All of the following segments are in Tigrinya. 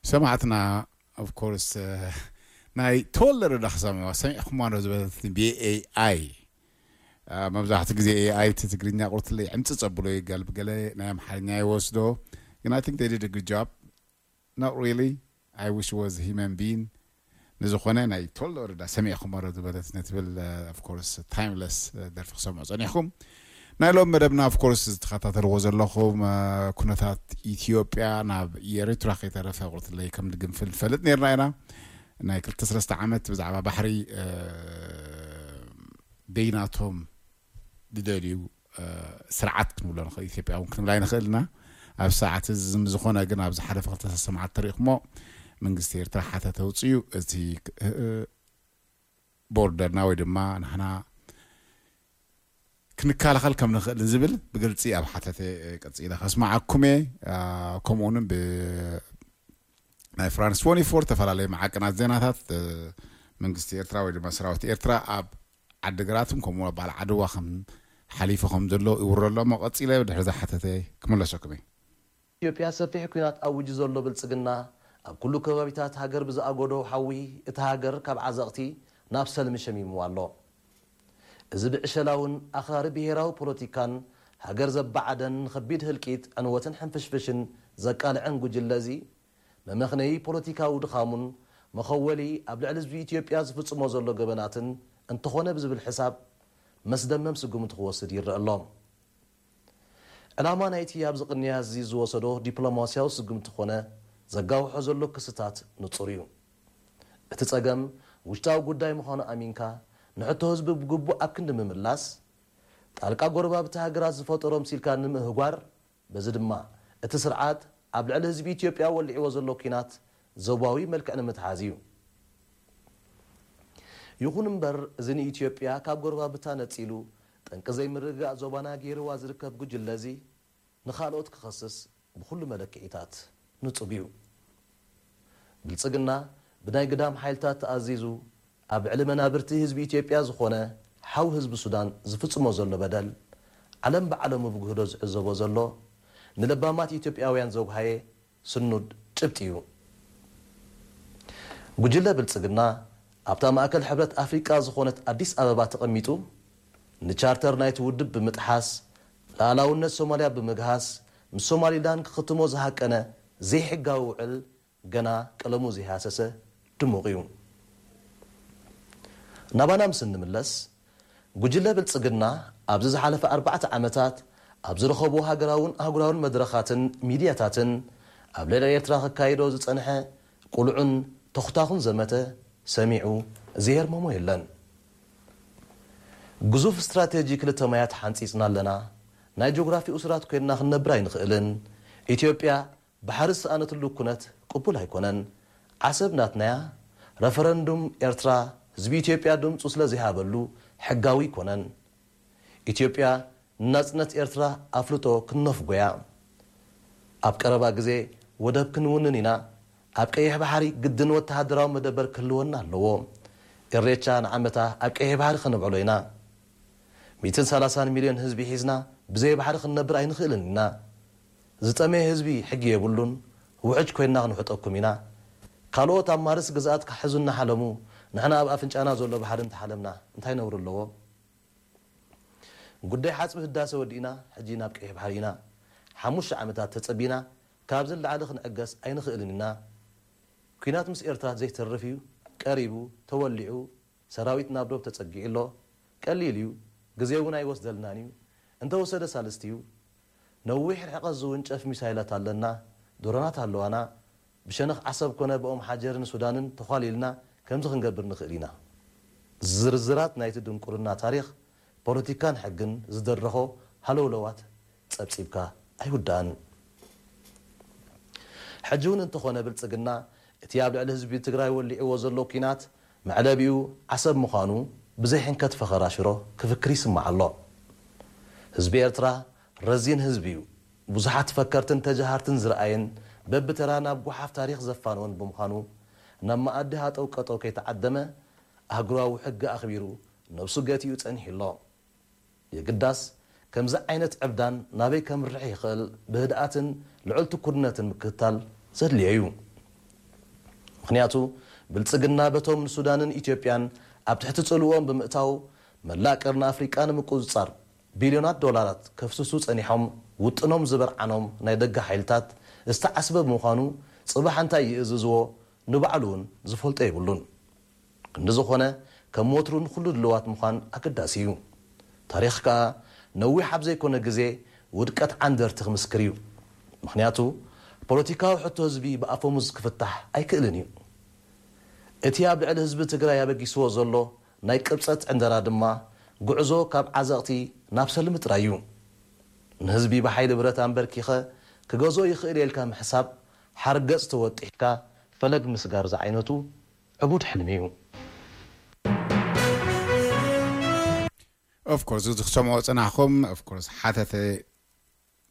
ሰማዕትና of course ናይ ተወለደ ዳ ክሰምዕዋ ሰሚዕኹማ ዶ ዝበለትኒ ብኤኣይ። መብዛሕትኡ ግዜ ኤኣይ እቲ ትግርኛ ቁርትለይ ዕምፅፅ ኣብሎ ይጋል ብገለ ናይ ኣምሓርኛ ይወስዶ። ግን I think they did a good job. Not really. I wish was human being. ንዝኾነ ናይ ተወልደ ወረዳ ሰሚዕኹም ዶ ዝበለት ነትብል of course timeless ደርፊ ክሰምዑ ጸኒሕኩም። ናይ ሎም መደብና of course ዝተኸታተልዎ ዘለኹም ኩነታት ኢትዮጵያ ናብ ኤርትራ ከይተረፈ ቁርትለይ ከም ድግንፍል ንፈልጥ ነርና ኢና። ናይ ክልተ ሰለስተ ዓመት ብዛዕባ ባሕሪ ደይናቶም ድደልዩ ስርዓት ክንብሎ ንኽእል፣ ኢትዮጵያ እውን ክንብል ኣይንኽእል ኢና። ኣብ ሰዓት እዚ ዝም ዝኾነ ግን ኣብዚ ሓለፈ ክልተ ሰለስተ መዓልቲ ተሪእኹሞ መንግስቲ ኤርትራ ሓተተ ኣውፅዩ እቲ ቦርደርና ወይ ድማ ንሕና ክንከላኸል ከም ንኽእል ዝብል ብግልፂ ኣብ ሓተተ ቀፂለ ከስማዓኩም እየ። ከምኡውን ብ ናይ ፍራንስ ፎር ዝተፈላለየ መዓቀናት ዜናታት መንግስቲ ኤርትራ ወይ ድማ ሰራዊት ኤርትራ ኣብ ዓዲግራትን ከምኡ በዓል ዓድዋ ከም ሓሊፉ ከም ዘሎ ይውረ ኣሎ እሞ ቀፂለ ድሕሪ ዝሓተተ ክምለሰኩም እየ። ኢትዮጵያ ሰፊሕ ኲናት ኣዊጁ ዘሎ ብልፅግና ኣብ ኩሉ ከባቢታት ሃገር ብዝኣጎዶ ሓዊ እታ ሃገር ካብ ዓዘቕቲ ናብ ሰልሚ ሸሚምዋ ኣሎ። እዚ ብዕሸላውን ኣኽራሪ ብሄራዊ ፖለቲካን ሃገር ዘባዓደን ንኸቢድ ህልቂት ዕንወትን ሕንፍሽፍሽን ዘቃልዐን ጉጅለ እዚ መመኽነዪ ፖለቲካዊ ድኻሙን መኸወሊ ኣብ ልዕሊ ህዝቢ ኢትዮጵያ ዝፍፅሞ ዘሎ ገበናትን እንተኾነ ብዝብል ሕሳብ መስደመም ስጉምቲ ክወስድ ይረአ ኣሎ። ዕላማ ናይቲ ኣብዚ ቅንያት እዚ ዝወሰዶ ዲፕሎማስያዊ ስጉምቲ ኮነ ዘጋውሖ ዘሎ ክስታት ንፁር እዩ። እቲ ፀገም ውሽጣዊ ጉዳይ ምዃኑ ኣሚንካ ንሕቶ ህዝቢ ብግቡእ ኣብ ክንዲ ምምላስ ጣልቃ ጎረባብቲ ሃገራት ዝፈጠሮ ምሲልካ ንምህጓር በዚ ድማ እቲ ስርዓት ኣብ ልዕሊ ህዝቢ ኢትዮጵያ ወሊዕዎ ዘሎ ኲናት ዞባዊ መልክዕ ንምትሓዝ እዩ። ይኹን እምበር እዚ ንኢትዮጵያ ካብ ጎረባብታ ነፂሉ ጠንቂ ዘይምርግጋእ ዞባና ገይርዋ ዝርከብ ጉጅለ እዚ ንኻልኦት ክኸስስ ብኹሉ መለክዒታት ንፁግ እዩ። ብልፅግና ብናይ ግዳም ሓይልታት ተኣዚዙ ኣብ ልዕሊ መናብርቲ ህዝቢ ኢትዮጵያ ዝኾነ ሓው ህዝቢ ሱዳን ዝፍፅሞ ዘሎ በደል ዓለም ብዓለሙ ብግህዶ ዝዕዘቦ ዘሎ ንለባማት ኢትዮጵያውያን ዘጉሃየ ስኑድ ጭብጢ እዩ። ጉጅለ ብልፅግና ኣብታ ማእከል ሕብረት ኣፍሪቃ ዝኾነት ኣዲስ ኣበባ ተቐሚጡ ንቻርተር ናይቲ ውድብ ብምጥሓስ ልኣላውነት ሶማልያ ብምግሃስ ምስ ሶማሊላንድ ክኽትሞ ዝሃቀነ ዘይሕጋዊ ውዕል ገና ቀለሙ ዘይሃሰሰ ድሙቕ እዩ። ናባና ምስ እንምለስ ጉጅለ ብልፅግና ኣብዚ ዝሓለፈ ኣርባዕተ ዓመታት ኣብ ዝረኸቦ ሃገራውን ኣህጉራውን መድረኻትን ሚድያታትን ኣብ ልዕሊ ኤርትራ ከካይዶ ዝፀንሐ ቁልዑን ተኹታኹን ዘመተ ሰሚዑ ዝየርመሞ የለን። ግዙፍ ስትራቴጂ ክልተ ማያት ሓንፂፅና ኣለና፣ ናይ ጆግራፊ እሱራት ኮይንና ክንነብር ኣይንኽእልን፣ ኢትዮጵያ ባሕሪ ዝሰኣነትሉ ኩነት ቅቡል ኣይኮነን። ዓሰብ ናትናያ፣ ረፈረንዱም ኤርትራ ህዝቢ ኢትዮጵያ ድምፁ ስለ ዘይሃበሉ ሕጋዊ ኣይኮነን። ኢትዮጵያ ንናጽነት ኤርትራ ኣፍልጦ ክንነፍጎያ። ኣብ ቀረባ ግዜ ወደብ ክንውንን ኢና። ኣብ ቀይሕ ባሕሪ ግድን ወተሃደራዊ መደበር ክህልወና ኣለዎ። ኢሬቻ ንዓመታ ኣብ ቀይሕ ባሕሪ ከነብዕሎ ኢና። ሚእትን ሰላሳን ሚልዮን ህዝቢ ሒዝና ብዘይ ባሕሪ ክንነብር ኣይንኽእልን ኢና። ዝጠመየ ህዝቢ ሕጊ የብሉን፣ ውሕጅ ኮይንና ክንውሕጠኩም ኢና። ካልኦት ኣብ ማርስ ግዝኣት ክሕዙ እናሓለሙ ንሕና ኣብ ኣፍንጫና ዘሎ ባሕሪ እንተሓለምና እንታይ ነውሪ ኣለዎ? ጉዳይ ሓፅቢ ህዳሰ ወዲእና ሕጂ ናብ ቀይሕ ባሕሪ ኢና። ሓሙሽተ ዓመታት ተፀቢና ካብዚ ንላዕሊ ክንዕገስ ኣይንኽእልን ኢና። ኲናት ምስ ኤርትራ ዘይተርፍ እዩ፣ ቀሪቡ፣ ተወሊዑ፣ ሰራዊት ናብ ዶብ ተፀጊዑ ኣሎ። ቀሊል እዩ፣ ግዜ እውን ኣይወስደልናን እዩ። እንተወሰደ ሳልስቲ እዩ። ነዊሕ ርሕቀት ዝውንጨፍ ሚሳይላት ኣለና፣ ድሮናት ኣለዋና። ብሸነኽ ዓሰብ ኮነ ብኦም ሓጀርን ሱዳንን ተዃሊልና ከምዚ ክንገብር ንኽእል ኢና። ዝርዝራት ናይቲ ድንቁርና ታሪኽ ፖለቲካን ሕግን ዝደረኾ ሃለውለዋት ጸብጺብካ ኣይውዳእን። ሕጂ እውን እንተኾነ ብልጽግና እቲ ኣብ ልዕሊ ህዝቢ ትግራይ ወሊዕዎ ዘሎ ኲናት መዕለቢኡ ዓሰብ ምዃኑ ብዘይ ሕንከት ፈኸራ ሽሮ ክፍክር ይስማዕ ኣሎ። ህዝቢ ኤርትራ ረዚን ህዝቢ እዩ። ብዙሓት ፈከርትን ተጀሃርትን ዝረኣየን በብተራ ናብ ጓሓፍ ታሪኽ ዘፋነወን ብምዃኑ ናብ መኣዲ ሃጠው ቀጠው ከይተዓደመ ኣህጉራዊ ሕጊ ኣኽቢሩ ነብሱ ገቲኡ ጸኒሑ ኣሎ። የግዳስ ከምዚ ዓይነት ዕብዳን ናበይ ከምርሕ ይኽእል ብህድኣትን ልዑል ትኩርነትን ምክትታል ዘድልዮ እዩ። ምኽንያቱ ብልጽግና በቶም ንሱዳንን ኢትዮጵያን ኣብ ትሕቲ ጽልዎም ብምእታው መላእ ቀርኒ ኣፍሪቃ ንምቁጽጻር ቢልዮናት ዶላራት ከፍስሱ ጸኒሖም ውጥኖም ዝበርዓኖም ናይ ደገ ሓይልታት ዝተዓስበ ብምዃኑ ጽባሕ እንታይ ይእዝዝዎ ንባዕሉ እውን ዝፈልጦ የብሉን። ክንዲ ዝኾነ ከም ወትሩ ንኹሉ ድልዋት ምዃን ኣገዳሲ እዩ። ታሪኽ ከኣ ነዊሕ ኣብ ዘይኮነ ግዜ ውድቀት ዓንደርቲ ክምስክር እዩ። ምኽንያቱ ፖለቲካዊ ሕቶ ህዝቢ ብኣፈሙዝ ክፍታሕ ኣይክእልን እዩ። እቲ ኣብ ልዕሊ ህዝቢ ትግራይ ኣበጊስዎ ዘሎ ናይ ቅብጸት ዕንደራ ድማ ጉዕዞ ካብ ዓዘቕቲ ናብ ሰልሚ ጥራይ እዩ። ንህዝቢ ብሓይሊ ብረት ኣንበርኪኸ ክገዝኦ ይኽእል እየ ኢልካ ምሕሳብ ሓርገጽ ተወጢሕካ ፈለግ ምስጋር ዝዓይነቱ ዕቡድ ሕልሚ እዩ። Of course እዚ ክሰምዖ ጽናሕኩም of course ሓተተ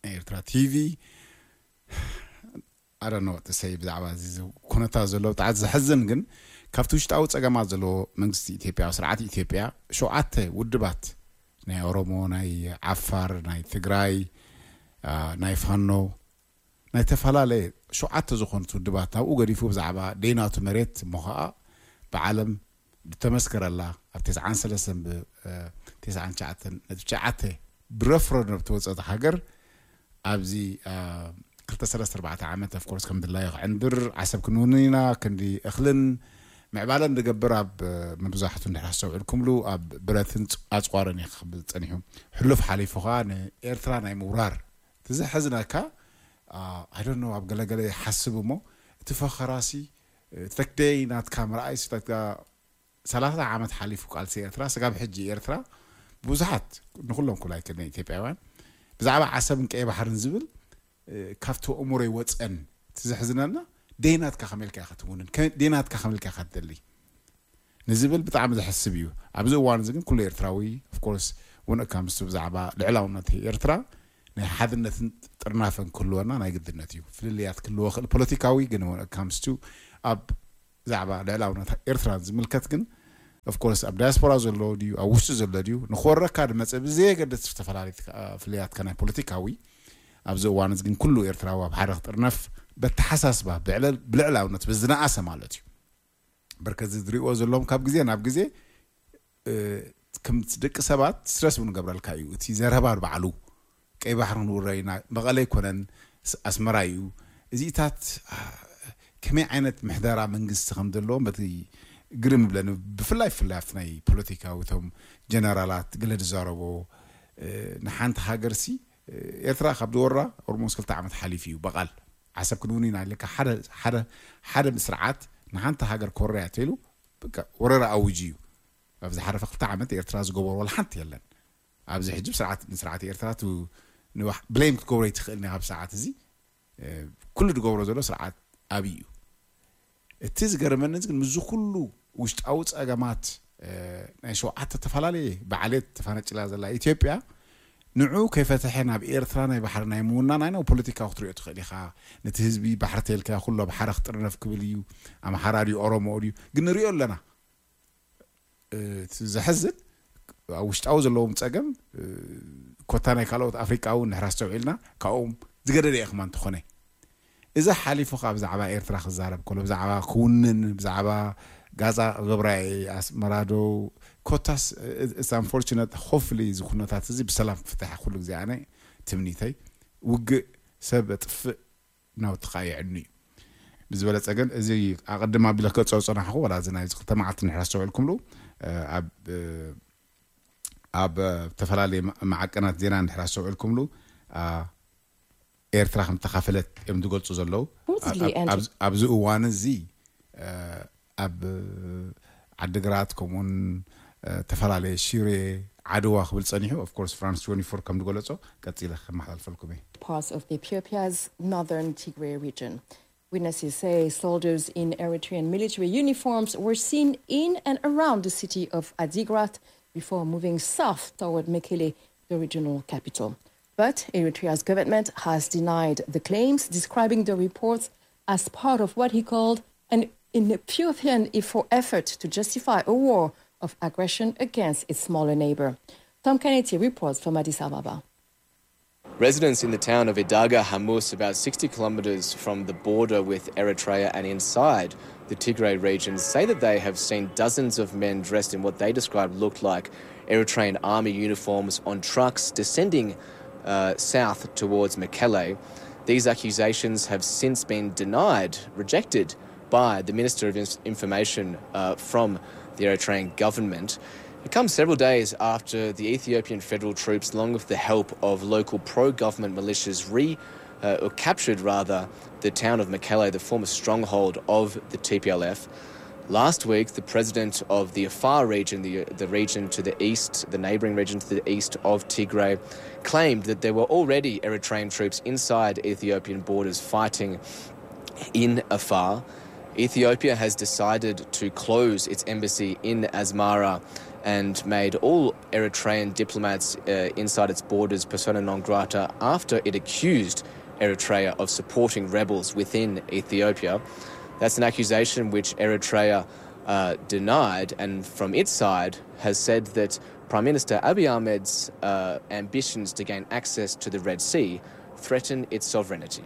ናይ ኤርትራ ቲቪ ኣረኖ ትሰይ ብዛዕባ እዚ ኩነታት ዘሎ ብጣዕሚ ዘሕዝን ግን ካብቲ ውሽጣዊ ጸገማት ዘለዎ መንግስቲ ኢትዮጵያ ስርዓት ኢትዮጵያ ሸውዓተ ውድባት ናይ ኦሮሞ ናይ ዓፋር ናይ ትግራይ ናይ ፋኖ ናይ ተፈላለየ ሸውዓተ ዝኾኑት ውድባት ናብኡ ገዲፉ ብዛዕባ ደይናቱ መሬት እሞ ኸዓ ብዓለም ብተመስከረላ ኣብ ተስዓን ሰለስተን ብ ተስዓን ትሽዓተን ነጥቢ ትሽዓተ ብረፍረንደም ተወፀት ሃገር ኣብዚ ክልተ ሰለስተ ኣርባዕተ ዓመት of course ከም ድላዩ ክዕንድር ዓሰብ ክንውንን ኢና ክንዲ እኽልን ምዕባለን ዝገብር ኣብ መብዛሕቱ እንድሕር ኣስተውዕልኩምሉ ኣብ ብረትን ኣፅዋርን እዩ ክብል ፀኒሑ ሕሉፍ ሓሊፉ ከዓ ንኤርትራ ናይ ምውራር እቲ ዘሕዝነካ I don't know ኣብ ገለገለ ይሓስብ እሞ እቲ ፈኸራሲ እቲ ተክደይ ናትካ ምርኣይ ስታትካ ሰላሳ ዓመት ሓሊፉ ቃልሲ ኤርትራ ስጋብ ሕጂ ኤርትራ ብዙሓት ንኩሎም ኩላይ ክነ ኢትዮጵያውያን ብዛዕባ ዓሰብን ቀይ ባሕርን ዝብል ካብቲ ኣእምሮይ ወፀን እቲ ዘሕዝነና ደይናትካ ከመልካ ኢኻ ትውንን ደይናትካ ከመልካ ኢኻ ትደሊ ንዝብል ብጣዕሚ ዘሕስብ እዩ ኣብዚ እዋን እዚ ግን ኩሉ ኤርትራዊ of course when it comes to ብዛዕባ ልዕላውነት ኤርትራ ናይ ሓድነትን ጥርናፈን ክህልወና ናይ ግድነት እዩ ፍልልያት ክህልዎ ክእል ፖለቲካዊ ግን when it comes to ኣብ ብዛዕባ ልዕላውነት ኤርትራ ዝምልከት ግን of course ኣብ ዳያስፖራ ዘሎ ድዩ ኣብ ውሽጢ ዘሎ ድዩ ንክወረካ ድመፀ ብዘየገድስ ዝተፈላለዩ ፍልያትካ ናይ ፖለቲካዊ ኣብዚ እዋን እዚ ግን ኩሉ ኤርትራዊ ኣብ ሓደ ክጥርነፍ በተሓሳስባ ብልዕላውነት ብዝነኣሰ ማለት እዩ በርከዚ ዝሪእዎ ዘለዎም ካብ ግዜ ናብ ግዜ ከምቲ ደቂ ሰባት ስትረስ እውን ገብረልካ እዩ እቲ ዘረባ ባዕሉ ቀይ ባሕሪ ክንውረ ኢና መቐለ ኣይኮነን ኣስመራ እዩ እዚታት ከመይ ዓይነት ምሕደራ መንግስቲ ከም ዘለዎም በቲ ግርም ይብለኒ ብፍላይ ብፍላይ ኣብቲ ናይ ፖለቲካዊ እቶም ጀነራላት ገለ ዝዛረቦ ንሓንቲ ሃገርሲ ኤርትራ ካብ ዝወራ ኦርሞስ ክልተ ዓመት ሓሊፉ እዩ በቓል ዓሰብ ክንውን ኢና ኢለካ ሓደ ሓደ ሓደ ስርዓት ንሓንቲ ሃገር ኮርያ ተይሉ ወረራ ኣውጅ እዩ ኣብ ዝሓለፈ ክልተ ዓመት ኤርትራ ዝገበሮ ወላ ሓንቲ የለን ኣብዚ ሕጂ ስርዓት ንስርዓት ኤርትራ ብሌም ክትገብሮ ይትኽእል ኒ ካብ ሰዓት እዚ ኩሉ ዝገብሮ ዘሎ ስርዓት ኣብይ እዩ እቲ ዝገርመኒ ግን ምዚ ኩሉ ውሽጣዊ ፀገማት ናይ ሸውዓተ ዝተፈላለየ ባዕሌት ተፋነጭላ ዘላ ኢትዮጵያ ንዑ ከይፈተሐ ናብ ኤርትራ ናይ ባሕሪ ናይ ምውናን ኣይነው ፖለቲካዊ ክትሪኦ ትኽእል ኢኻ ነቲ ህዝቢ ባሕሪ ተልካ ኩሉ ኣብ ሓረ ክጥርነፍ ክብል እዩ ኣምሓራ ድዩ ኦሮሞ ድዩ ግን ንሪኦ ኣለና እቲ ዘሕዝን ኣብ ውሽጣዊ ዘለዎም ፀገም ኮታ ናይ ካልኦት ኣፍሪቃ እውን ንሕራ ኣስተውዒልና ካብኦም ዝገደደ እየ ክማ እንተኾነ እዚ ሓሊፉ ከዓ ብዛዕባ ኤርትራ ክዛረብ ከሎ ብዛዕባ ክውንን ብዛዕባ ጋዛ ክገብራ ኣስመራዶ ኮታስ it's unfortunate hopefully እዚ ኩነታት እዚ ብሰላም ክፍትሐ ኩሉ ግዜ ኣነ ትምኒተይ ውግእ ሰብ ኣጥፍእ ናውቲ ከዓ የዕኑ እዩ ብዝበለፀ ግን እዚ ኣቐድም ኣቢለ ከፀው ፀናሕኹ ወላ እዚ ናይ ክልተ መዓልቲ ንድሕር ኣስተውዕልኩምሉ ኣብ ኣብ ዝተፈላለዩ ማዓቀናት ዜና እንድሕር ኣስተውዕልኩምሉ ኤርትራ ከም ተኻፈለት እዮም ዝገልፁ ዘለዉ ኣብዚ እዋን እዚ ኣብ ዓድግራት ከምኡውን ተፈላለየ ሽሬ ዓድዋ ክብል ፀኒሑ of course France twenty-four ከም ዝገለፆ ቀፂለ ከመሓላልፈልኩም እየ parts of Ethiopia's northern Tigray region. Witnesses say soldiers in Eritrean military uniforms were seen in and around the city of Adigrat before moving south toward Mekelle, the regional capital. But Eritrea's government has denied the claims, describing the reports as part of what he called an Ethiopian effort to justify a war of aggression against its smaller neighbor. Tom Kennedy reports from Addis Ababa. Residents in the town of Idaga Hamus, about sixty kilometres from the border with Eritrea and inside the Tigray region, say that they have seen dozens of men dressed in what they described looked like Eritrean army uniforms on trucks descending uh, south towards Mekelle. These accusations have since been denied, rejected by the Minister of Information uh, from the Eritrean government. It comes several days after the Ethiopian federal troops, along with the help of local pro-government militias, re uh, or captured rather the town of Mekelle, the former stronghold of the T P L F. Last week, the president of the Afar region, the, the region to the east, the neighbouring region to the east of Tigray, claimed that there were already Eritrean troops inside Ethiopian borders fighting in Afar. Ethiopia has decided to close its embassy in Asmara and made all Eritrean diplomats uh, inside its borders persona non grata after it accused Eritrea of supporting rebels within Ethiopia. That's an accusation which Eritrea uh, denied, and from its side has said that Prime Minister Abiy Ahmed's uh, ambitions to gain access to the Red Sea threaten its sovereignty.